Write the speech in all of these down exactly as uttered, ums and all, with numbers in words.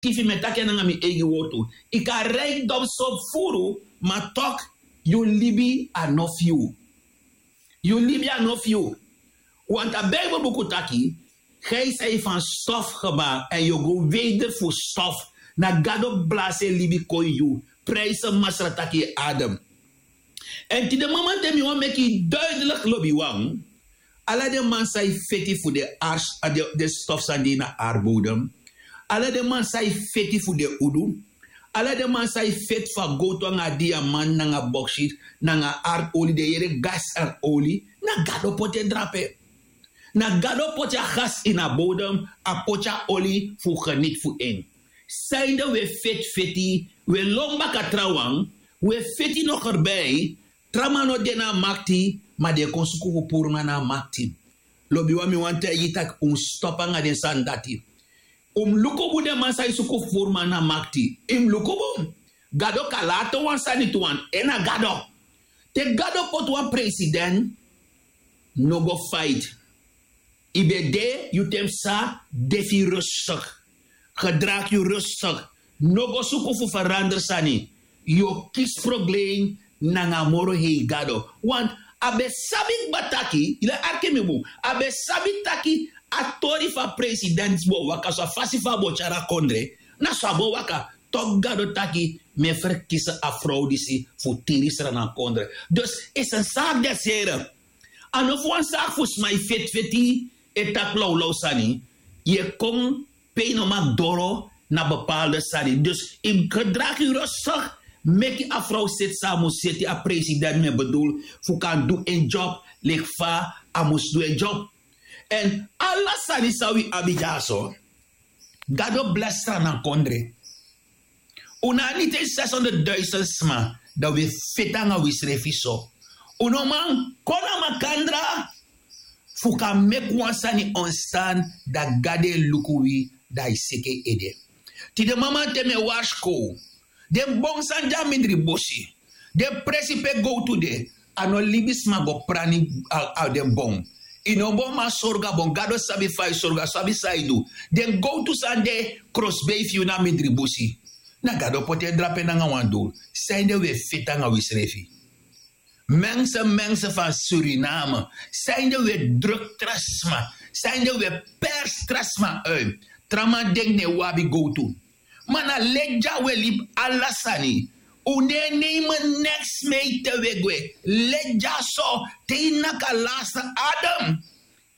Kifi mi e taki en nanga mi eigi wortu. Yu kan rijkdom so furu, ma tok, yu libi a no fu yu. Yu libi a no fu yu. Want a Bijbelbuku taki, gij zijt van stof gemaakt en yu go weder fu stof. Na Gado blasi en libi kon yu. Prijs en Masra taki yu adem. En tide mamanten mi wani meki yu duidelijk, lobiwan. Ala den man san e feti fu den ars, a den, den stof san de na aardbodem. Ala den man san e feti fu den udu. Ala den man san e feti fu a gowtu nanga a diamant nanga boksit nanga a aardoli, den yere gas en oli, na Gado poti en drape. Na Gado poti a gas ini a bodem, a poti a oli fu geniti fu en. Sanede wi e feti feti, wi e lon baka trawan, wi e feti nogerbei. Tra man no de na a makti, ma den e kon suku fu puru nanga na a makti. Lobiwan, mi wani taigi yu taki un mus stop nanga den sani dati. Un mus luku bun den man san e suku fu puru man na makti. Yu mus luku bun. Gado kan lati wan sani tu, want en na Gado. Te Gado poti wan president, no go fight. Yu ben de, yu ten psa, de fu yu rustig. Gedraag yu rustig. No go suku fu verander sani. Yu o kisi probleem nanga a moro hei Gado. Want a ben sabi kba taki, yu e arki mi bun, a ben sabi taki a tori fu a president bo waka so, a fasi fu a bo tyari a kondre, na so a bo waka. Tok Gado taki mi e ferkisi a frow disi fu tiri sra na kondre. Dus is en zaak des Heren. A no fu wan saki fu sma e feti feti, e taki lawlaw sani, yu e kon pe yu no mag doro na bepaalde sani. Dus yu mus gedraag yu rustig, meki a frow seti san a mus seti, a president mi e bedoel, fu kan du en job leki fa a mus du en job. En ala sani san wi abi dyaso, Gado blesi sra na kondre. Un no abi niti zeshonderdduizend sma, dan wi e feti nanga wisrefi so. Un no man kon na makandra fu kan meki wan sani ontstaan, dan Gado e luku wi, dan a e seki en ede. Tide mamanten mi e warskow, den bon san de a mindri busi, den presi pe gowtu de, a no libisma go prani a, a den bon. Yu no bo man sorgu a bon, Gado sabi fa yu sorgu, a sabi san yu du. Den gowtu san de krosbei fu yu na mindri busi, na Gado poti en drape nanga wan duru. Sanede wi e feti nanga wisrefi? Mensen, mensen van Suriname, sanede wi e druk tra sma, sanede wi e pers tra sma uit? Tra man denki ne wi abi gowtu. Ma na leti dya wi e libi ala sani. Un no e nemen neks mee te wi e gwe. Leti dyaso, te yu naki a laatste adem.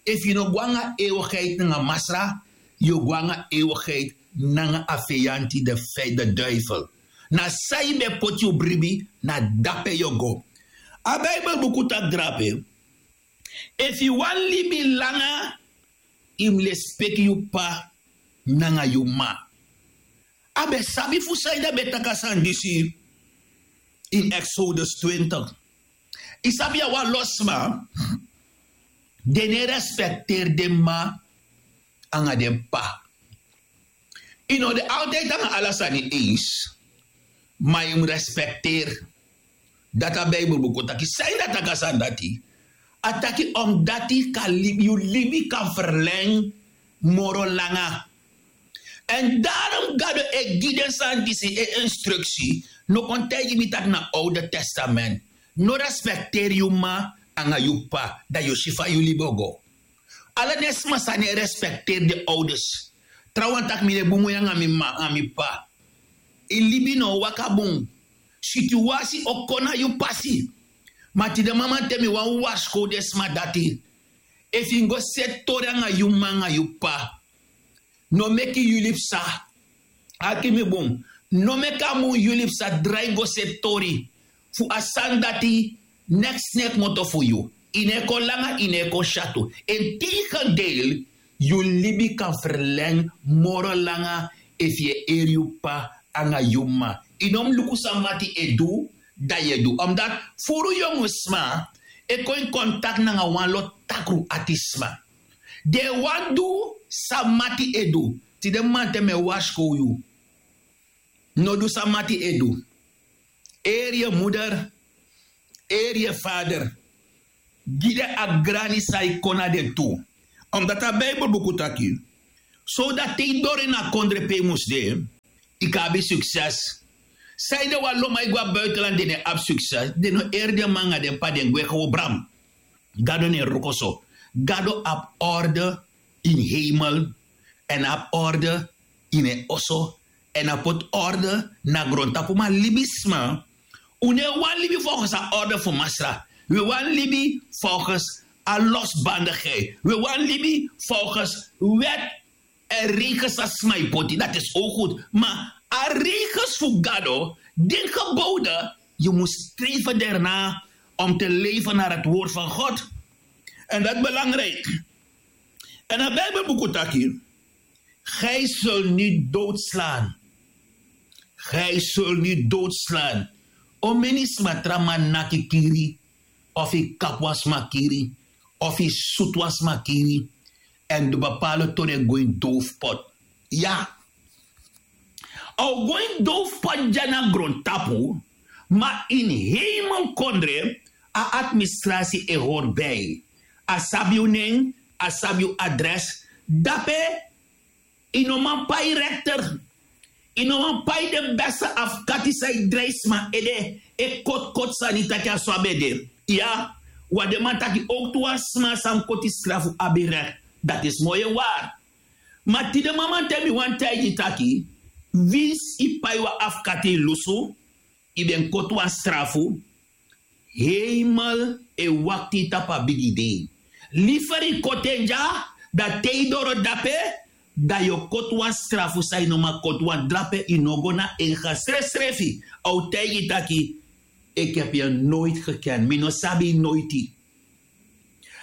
Efu yu no go nanga eeuwigheid nanga Masra, yu o go nanga eeuwigheid nanga a feyanti, de fe-, de duivel. Na san yu ben poti yu bribi, na dape yu o go. A Bijbelbuku taki drape, efu yu wani libi langa, yu mus lespeki yu p'pa nanga yu m'ma. A ben sabi fu sanede a ben taki a sani disi ini Exodus twintig. Yu sabi, a wan lo sma, den no e respekteri den m'ma nanga den p'pa. Yu no de altijd nanga ala sani eens, ma yu mus respekteri. Dati a Bijbelbuku taki. Sanede a taki a sani dati? A taki omdati kan libi, yu libi kan verleng moro langa. En daarom Gado e gi den sani disi, en instructie. No kon taigi mi taki na Oude Testament. No respekteri yu m'ma nanga yu p'pa, dan yu o si fa yu libi o go. Ala den sma san no e respekteri den ouders. Trawan taki mi no e bun moi nanga mi m'ma nanga mi p'pa. Yu libi no o waka bun. Situasi o kon na yu pasi. Ma tide mamanten mi wani warskow den sma dati. Efu yu go seti tori nanga yu m'ma nanga yu p'pa, no meki yu libi psa. Arki mi bun. No meki a mun yu libi psa drai go seti tori fu a sani dati. Neks no e kmoto fu yu. Yu no e kon langa, yu no e kon syatu. Integendeel, yu libi kan verleng moro langa efu yu e eri yu p'pa nanga yu m'ma. Yu no mus luku san mati e du, dan yu e du. Omdati furu yongu sma e kon in contact nanga wan lo takru ati sma. Den e wani du san mati e du. Tide mamanten mi e warskow yu. No du san mati e du. Eri yu moeder, eri yu vader. Gi den a grani san e kon na den tu. Omdati a Bijbelbuku taki, Sowdati te yu doro ini a kondre pe yu mus de, yu kan abi sukses. Sanede wan lo man e go na buitenland den no e abi sukses? Den no eri den man nanga den p'pa, den gwe gewobram. Gado no e wroko so. Gado abi orde ini heimel, èn a abi orde ini en oso, èn a poti orde na grontapu. Ma libisma, un no e wani libi folgens a orde fu Masra. Wi e wani libi folgens a losbandigheid. Wi e wani libi folgens wet en regens san sma e poti. Dati is ook goed. Ma a regens fu Gado, den geboden, yu mus streven daarna om te leven naar het woord van God. En dat is belangrijk. En a Bijbelbuku taki: Gij zult niet doodslaan. Gij zult niet doodslaan. Omeni sma tra man naki kiri, of yu kapu wan sma kiri, of yu sutu wan sma kiri, èn den bepaalde tori e go ini doofpot. Ya. A o go ini doofpot dya na grontapu, ma ini hemelkondre a administrasi e hori bij. A sabi yu nen, a sabi yu adres. Dape yu no man pai rekter. Yu no man pai den beste afkati san e drai sma ede, e koti koti sani taki a so a ben de. Ya, wan den man taki owktu wan sma san koti strafu abi rek. Dati is moi en wari. Ma tide mamanten mi wani taigi yu taki, winsi yu pai wan afkati yu lusu, yu ben koti wan strafu, heimel e wakti yu tapu a bigi dei. Liferi koti en dya, dan te yu doro dape, dan yu o koti wan strafu san yu no man koti. Wan drape yu no go na en ga srefsrefi, a o taigi yu taki: Ik heb je nooit gekend, mi no sabi yu noiti.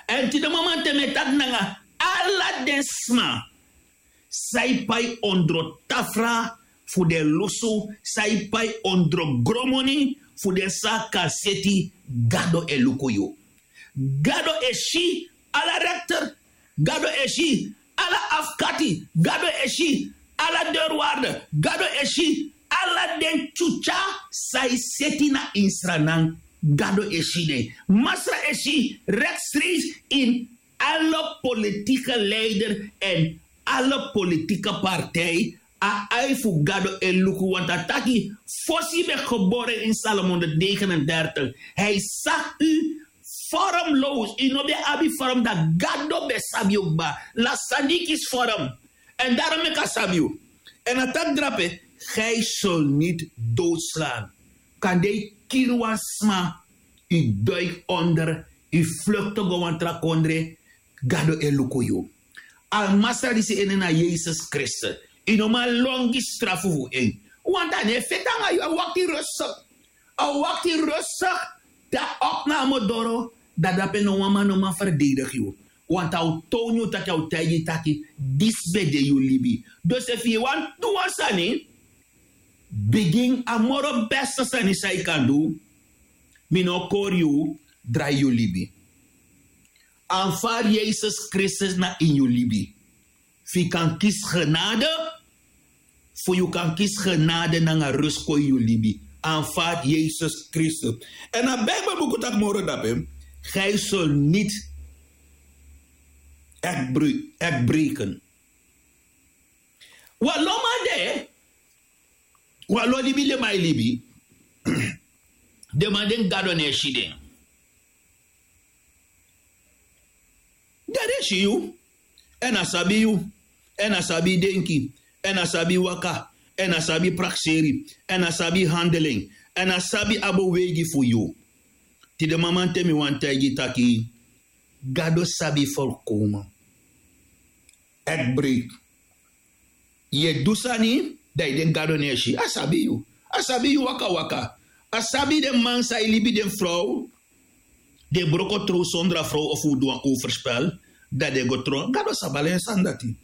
Èn tide mamanten mi e taki nanga ala den sma san e pai ondro tafra fu den lusu, san e pai ondro gromoni fu den saka seti, Gado e luku yu. Gado e si ala rekter. Gado e si ala afkati. Gado e si ala deurwaarder. Gado e si ala den tyutya san e seti na ini Sranan. Gado e si den. Masra e si rechtstreeks in alle politieke leider en alle politieke partij. A ai fu Gado e luku, want a taki: Fosi yu ben gebore in Psalm honderdnegenendertig, hij zag u vormloos. Yu no ben abi vorm, dan Gado ben sabi yu kba. Lasi san di yu kisi vorm. Èn daarom meki a sabi yu. Èn a taki drape: Gij zult niet doodslaan. Kande yu kiri wan sma, yu duik onder, yu flukte go wan tra kondre, Gado e luku yu. A Masra disi en nen na Yesus Kristus. Yu no man lon gi strafu fu en. Want a no e feti nanga yu, a wakti rustig. A wakti rustig te a opname doro, dan dape no wan man no man ferdedigi yu. Want a o townu yu taki, a o taigi yu taki: Disi ben de yu libi. Dus efu yu wani du wan sani, bigin a moro beste sani san yu kan du. Mi no o kori yu, drai yu libi. Aanvaard Yesus Kristus na ini yu libi. Fu yu kan kisi genade, fu yu kan kisi genade nanga rust kon ini yu libi. Aanvaard Yesus Kristus. Èn a Bijbelbuku taki moro drape: Gij zult niet echt breken. Wan lo man de, wan lo libi den man e libi. Den man den, Gado no e si den. Gado e si yu, èn a sabi yu, èn a sabi yu denki, èn a sabi yu waka, èn a sabi yu prakseri, èn a sabi yu handel en, èn a sabi a beweigi fu yu. Tide mamanten mi wani taigi yu taki, Gado sabi yu volkomen. Echt breed. Yu e du sani, dan yu denki Gado no e si. A sabi yu. A sabi yu wakawaka. A sabi den man san e libi den frow, den broko trow sondro a frow of un du wan overspel, dan den go trow. Gado sabi ala en sani dati.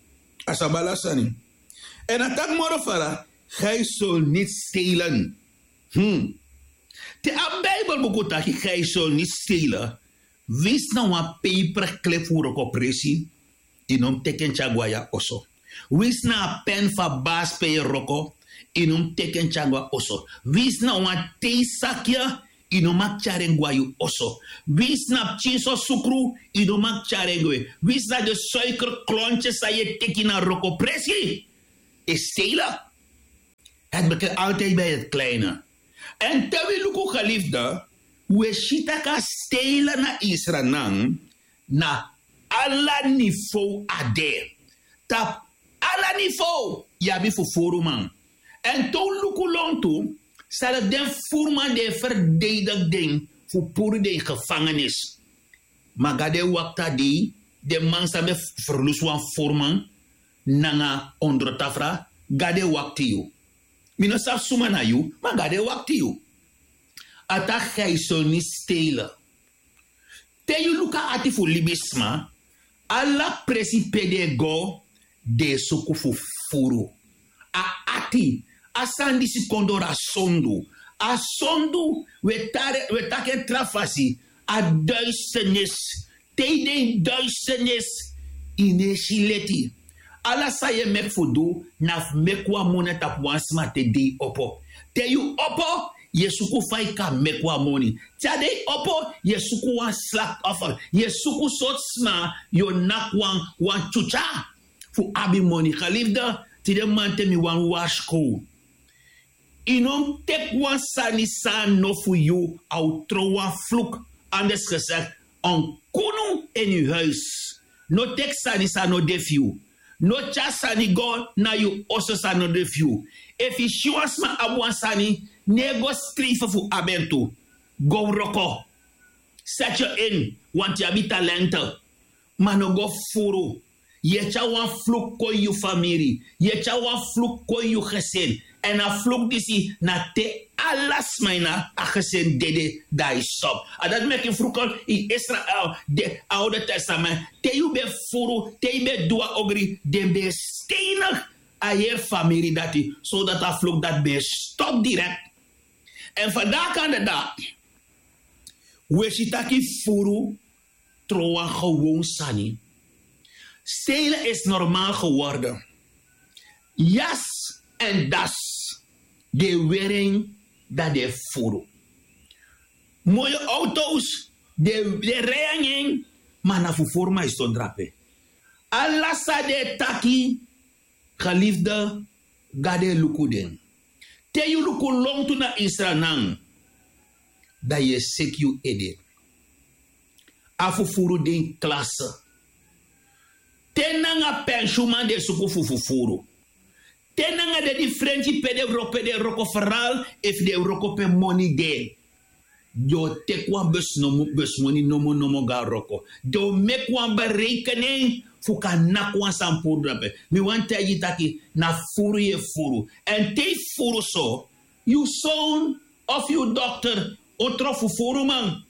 A sabi ala sani. Èn a taki moro fara, gij zult niet stelen. Hmm. Te a Bijbelbuku taki, gij zult niet stelen, winsi na wan paperclip fu wroko presi, yu no mus teki en tyari go na yu oso. Winsi na a pen fu a basi pe yu e wroko, yu no mus teki en tyari go na oso. Winsi na wan teisaki, yu no maki tyari en gwe na yu oso. Winsi na pikinso sukru, yu no maki tyari en gwe. Winsi na den suikerklontye san yu e teki na wrokopresi, e stelen. Heti beken altijdi bi heti kleine. Èn te wi luku gelifde, wi e si tak' a stelen na yu sranan na ala nivow a de. Tapu ala nivow yu abi fufuruman. Èn te un luku lontu, sari den fufuruman di e ferdeidigi den fu puru den ini gefangenis. Ma gado e wakti a dei, den man san ben ferlusu wan fufuruman nanga ondrotafra, gado e wakti yu. Mi no sabi suma na yu, ma gado e wakti yu. A taki a e soni stelen. Te yu luku a ati fu libisma, ala presi pe den e go, den e suku fufuru. A ati, a sani disi kon doro a sondu. A sondu, wi e tari, wi e taki en tra fasi, a duisternis. Te yu de ini duisternis, yu no e si leti. Ala san yu e meki fu du, na fu meki wan moni na tapu wan sma te dei opo. Te yu opo, yu e suku fa yu kan meki wan moni. Te a dei opo, yu e suku wan slachtoffer. Yu e suku sortu sma yu o naki wan, wan tyutya fu abi moni. Gelifde, tide mamanten mi wani warskow. Yu no mus teki wan sani san a no fu yu, a o tron wan vloek, anders gezegd, een kunu in yu huis. No teki sani san no de fu yu. No tyari sani go na yu oso san no de fu yu. Efu yu si wan sma abi wan sani, no e go skrifi fu abi en tu. Go wroko. Seti yu ini, want yu abi talenten. Ma no go fufuru. Yu e tyari wan vloek kon ini yu famiri. Yu e tyari wan vloek kon ini yu gesin. Èn a vloek disi na te ala sma ini a gesin dede, dan a e stop. A dati meki yu vruku ini Israel, den Oude Testament, te yu ben fufuru, te yu ben du wan ogri, den ben e steinig a heri famiri dati, sodati a vloek dati ben e stop direkt. Èn vandaag aan de dag, wi e si tak' fufuru tron wan gewoon sani. Stelen is normaal geworden. Jas en das, den e weri en, dan den e fufuru. Moi auto's, den, den e rij nanga en, ma na fufuruman e sidon drape. Ala san den e taki, gelifde, Gado e luku den. Te yu luku lontu na yu sranan, dan yu e seki yu ede. A fufuru de ini klase. Te nanga pensyunman den e suku fu fufuru. Te nanga den difrenti pe den wroko, pe den e wroko, feral efu den e wroko pe moni de. Den o teki wan besi nomo, besi moni nomo nomo go na wroko. Den o meki wan berekening fu kan naki wan sani puru drape. Mi wani taigi yu taki na fufuru yu e fufuru. Èn te yu fufuru so, yu son of yu dokter o tron fufuruman.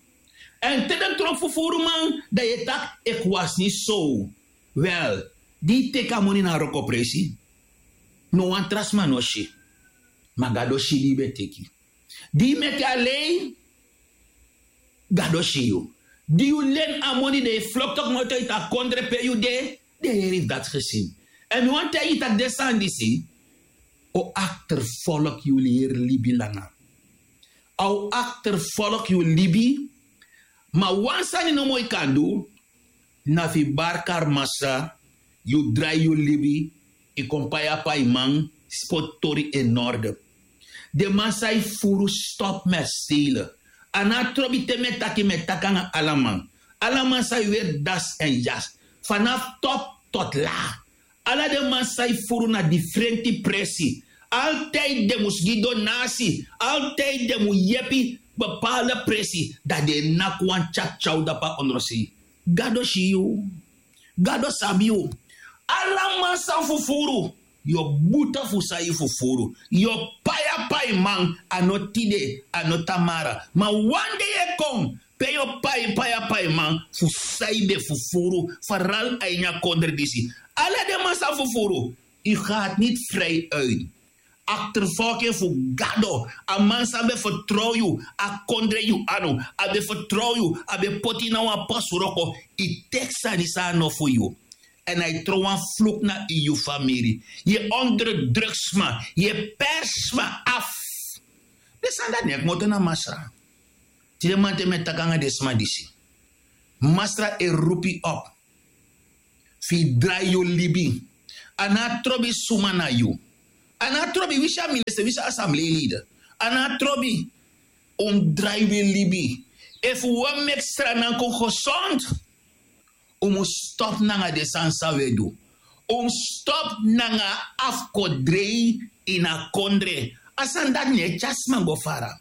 Èn te den tron fufuruman, dan yu e taki: "Ik was niet zo." Wel, di yu teki a moni na wrokopresi, no wan tra sma no si. Ma Gado si di yu ben teki. Di yu meki a lei, Gado si yu. Di yu leni a moni, dan yu flokto komoto ini a kondre pe yu de, den heri fu dati gezin. Èn mi wani taigi yu taki den sani disi o akterfolg yu heri libi langa. A o akterfolg yu libi, ma wan sani nomo yu kan du, na fu yu bari kari Masra, yu drai yu libi, yu kon pai a paiman, poti tori in orde. Den man san e fufuru, stop met stelen. A no trobi te mi e taki, mi e taki nanga ala man. Ala man san e weri das èn jas, vanaf top tot laag. Ala den man san e fufuru na difrenti presi. Altijd den mus gi donasi. Altijd den mus yepi bepaalde presi. Dan den e naki wan tyatyaw dapu na ondrosei. Gado si yu. Gado sabi yu. Ala man san fufuru, yu o buta fu san yu fufuru. Yu o pai a paiman, a no tide, a no tamara. Ma wan dei e kon pe yu o pai, pai a paiman fu san yu ben fufuru, feral a ini a kondre disi. Ala den man san fufuru, yu gaat niet vrij uit. Akterfolg fu Gado, a man san ben fertrow yu, a kondre yu anu, a ben fertrow yu, a ben poti yu na wan posu wroko, yu teki sani san a no fu yu. Èn a e tron wan vloek na ini yu famiri. Yu e onderdruk sma, yu e pers sma af. Den sani dati no e komoto na Masra. Tide manten mi e taki nanga den sma disi. Masra e rupi op fu yu drai yu libi. A no a trobi suma na yu. A no a trobi wisi a minister wisi a assembleeleden. A no a trobi. Un mus drai wi libi. Efu un wani meki sranan kon gesond, un mus stop nanga den sani san un e du. Un mus stop nanga afkodrei. Ini a kondre a sani dati no e tyari sma go fara.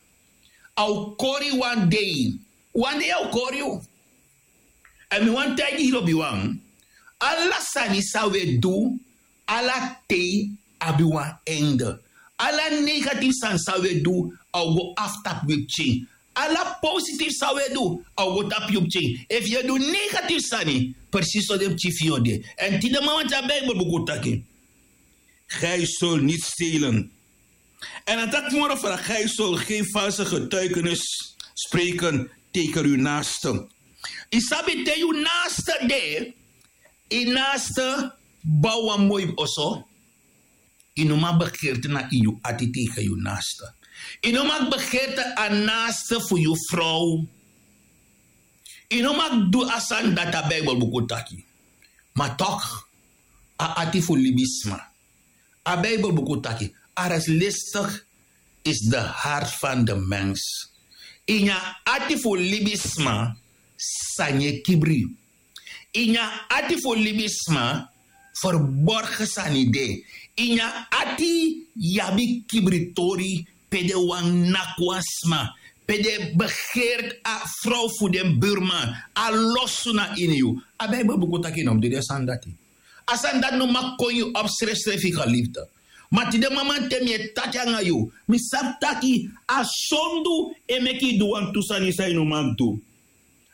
A o kori wan dei. Wan dei a o kori yu. Èn mi wani taigi yu lobiwan, ala sani san un e du, ala tei abi wan einde. Ala negatifu sani san un e du, a o go afu tapu wi pikin. Ala positifu san un e du, a o go tapu yu pikin. Efu yu e du negatifu sani, presisi so den pikin fu yu o de. Èn tide mamanten a bibel buku taki, gijzel niti stelen. Èn a taki moro fara gijzel gen false getuikenis spreken tegen yu naaste. Yu sabi te yu naaste de, yu naaste bow wan moi oso. Yu no man begerte na ini yu ati tegen yu naaste. Yu no man begerte a naaste fu yu frow. Yu no man du a sani dati a bibel buku taki. Ma tok, a ati fu libisma, a bibel buku taki, areslistik is de hart van de mens. Ini a ati fu libisma, sani e kibri. Ini a ati fu libisma, ferborgen sani de. Ini a ati yu abi kibritori, pe den wani naki wan sma, pe den begeert a frow fu den burman, a losu na ini yu. A bibel buku taki no mus du den sani dati. A sani dati no man kon yu op srefsrefi geliefde. Ma tide mamanten mi e taki nanga yu, mi sabi taki a sondu e meki yu du wantu sani san yu no man du.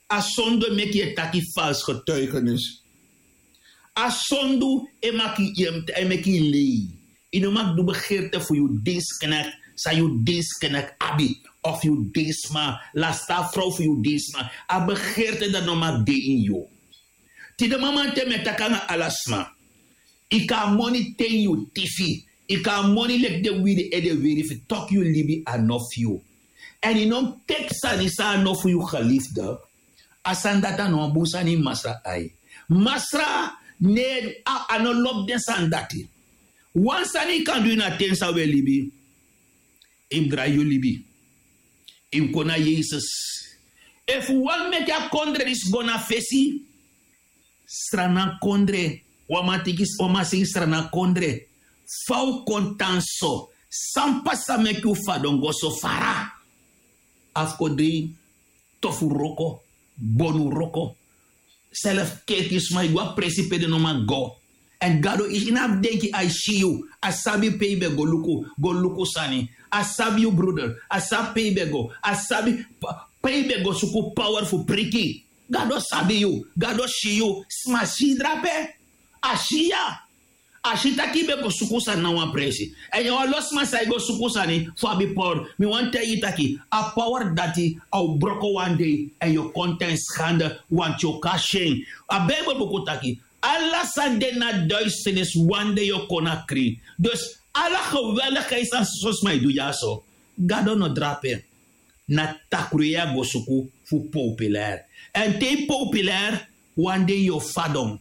A sondu e meki yu e taki false getuigenis. A sondu e maki yu e meki yu lei. Yu no man du begerte fu yu dinsknek, san yu dinsknek abi, of yu dinsma, lasta a frow fu yu dinsma. A begerte dati no man de ini yu. Tide mamanten mi e taki nanga ala sma. Yu kan a moni ten yu tifi. Yu kan a moni leki den wiri ede wiri fu toki yu libi a no fu yu. Èn yu no mus teki sani san a no fu yu geliefde. A sani dati a no wan bun sani ini masra ai. Masra, ne a no lobi den sani dati. Wan sani yu kan du ini a ten san un e libi, yu mus drai yu libi. Yu mus kon na yesus. Efu un wani meki a kondre disi go na fesi, sranan kondre, wan man tiki wan man sei sranan kondre. Fa un kon tan so? San pasa meki un fadon go so fara? Afkodei, tofu wroko, bonu wroko, selfi keki sma yu go a presi pe den no man go. Èn gado yu no abi denki a e si yu. A sabi pe yu ben go luku go luku sani. A sabi yu bruder. A sabi pe yu ben go. A sabi pe yu ben go suku power fu priki. Gado sabi yu. Gado si yu. Sma si yu drape. A si ya. A si tak' yu ben go suku sani na wan presi. Èn yu a wan lo sma san e go suku sani fu abi power. Mi wani taigi yu tak' a power dati a o broko wan dei. Èn yu o kon tan en skande. Wanti yu o kon a si en. A bibel buku taki, ala san de na duisternis wan dei yu o kon na krin. Dus ala geweldigheid san soso sma e du dyaso, gado no drape. Na takru yu e go suku fu populair. Èn te yu populair, wan dei yu o fadon.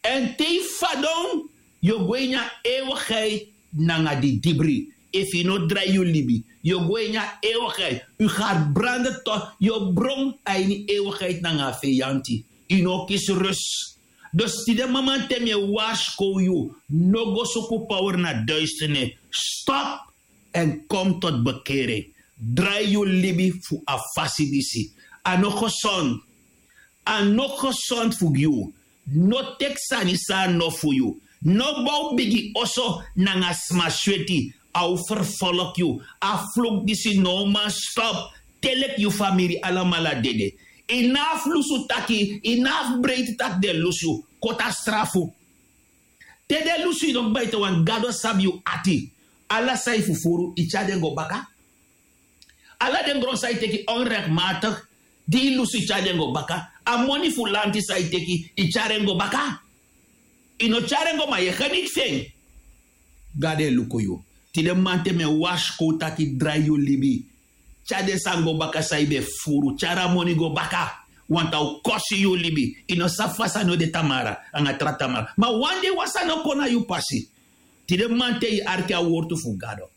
Èn te yu fadon, yu o go ini a ewigheid nanga didibri. Efu yu no drai yu libi, yu o go ini a ewigheid. Yu gari brande to yu o bron a ini ewigheid nanga a feyanti. Yu no o kisi rus. Dus tide mamanten mi e warskow yu, no go suku power na duisternis. Stop. Èn kom tot bekering. Drai yu libi fu a fasi disi. A no gesond. A no gesond fu gi yu. No teki sani san a no fu yu. No bow bigi oso nanga sma sweti. A o ferfolki yu. A fluk disi no man stop. Te leki yu famiri alamala dede. Yu no abi fu lusu taki, yu no abi fu breiti tak' den lusu yu. Koti a strafu. Te den lusu yu no kbaite wani gado sabi yu ati. Ala san yu fufuru yu tyari den go baka. Ala den gron san yu teki onrekmatik, di yu lusu yu tyari den go baka. A moni fu lanti san yu teki yu tyari en go baka. Yu no tyari en go ma yu e geniti fu en. Gado e luku yu. Tide mamanten mi e warskow tak' yu drai yu libi. Tyari den sani go baka san yu ben furu. Tyari a moni go baka. Wanta o kosi yu libi. Yu no sabi fa sani o de tamara anga tra tamara. Ma wan dei wan sani o kon na yu pasi. Tide mamanten yu arki a wortu fu Gado.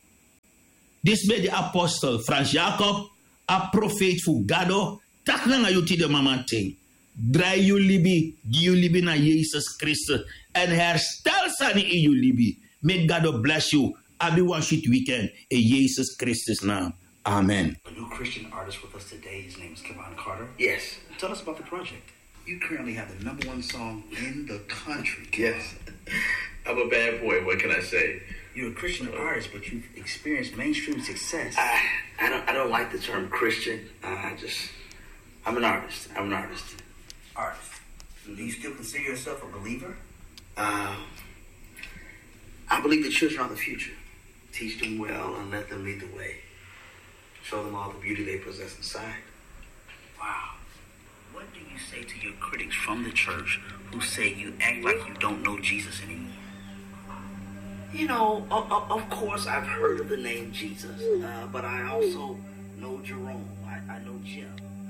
Disi ben de apostel Frans Jacob, a profeiti fu Gado, taki nanga yu tide mamanten. Drai yu libi, gi yu libi na Yesus Kristus, èn herstel sani ini yu libi. Meki Gado blesi yu. Abi wan switi weekend, in Yesus Kristus naam. Amen. A new Christian artist with us today. His name is Kevon Carter. Yes. Tell us about the project. You currently have the number one song in the country, Kevon. Yes. I'm a bad boy. What can I say? You're a Christian artist, but you've experienced mainstream success. I, I don't, I don't like the term Christian. I, I just, I'm an artist. I'm an artist. Artist. Do you still consider yourself a believer? Uh, I believe the children are the future. Teach them well and let them lead the way. Show them all the beauty they possess inside. Wow. What do you say to your critics from the church who say you act like you don't know Jesus anymore? You know, o- o- of course, I've heard of the name Jesus, uh, but I also know Jerome. I, I know Jim.